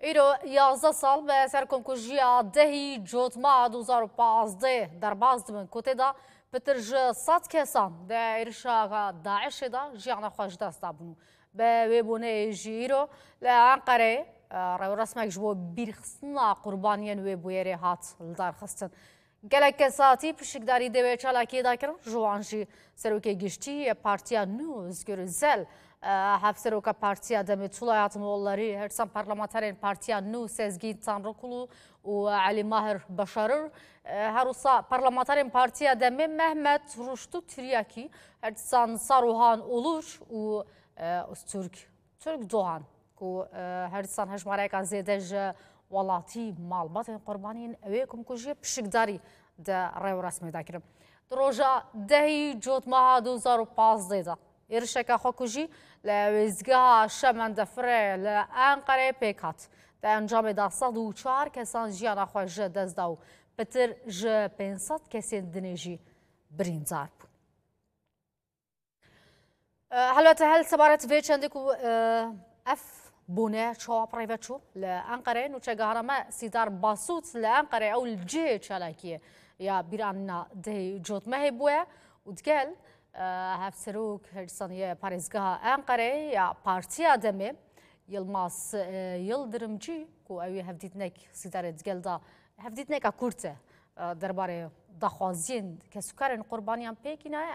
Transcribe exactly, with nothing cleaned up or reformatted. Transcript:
Îro yazdeh sal be ser komkujiya dehî Cotmeha du hezar û pazdeh derbas dibin ku tê de pitir ji sed kesan di êrişa DAIŞê de jiyana xwe ji dest dabûn û bi wê boneyê jî îro li Enqereyê, e, rêwresmek ji bo bîrxistina qurbaniyên wê bûyerê hat lidarxistin. Gelek kesatî pişikdarî dê wê çalakiyê de kirin, ji wan jî Serokê Giştî yê Partiya Nû Özgür Özel, e, Hevseroka Partiya Demê Tolay Hatimoğulları, her dîsan parlamenterên Partiya Nû Sezgîn Tanrıkulu û Elî Mahir Başarır, e, her wisa parlamenterên Partiya Demê Mehmet Ruştu Tiryakî, her dîsan Saruhan Olur û, e, Öztürk Türk Doğan ku, e, her dîsan hejmareyeka zêde ji welatî malbatên qurbaniyên wê komkujiyê pişikdarî di rêwresmê de kirin. Di roja dehî Cotmeha du hezar û pazdeh de êrişeke xwekujî li wêzgeha Şemendefirê li Enqereyê pêk hat. Di encamê de sed û çar kesan jiyana xwe ji dest da û pitir ji pênc sed kesên dinê jî birîndar bûn. E, helbete hel sebaret vê çendê ku, e, ev bûne çawa bi rê ve çû li Enqereyê, nûçegihara me Sîdar Basût li Enqereyê ew li cihê çalakiyê ya bîranîna dehê Cotmehê bûye û digel, e, hevserok her dîsan yê parêzgeha Enqereyê ya Partiya Demê Yilmaz, e, Yildirimcî ku ew ê hevdîtinek Sîdarê digel da hevdîtineka kurt e, e, derbarê daxwaziyên kesûkarên qurbaniyan pêk înaye.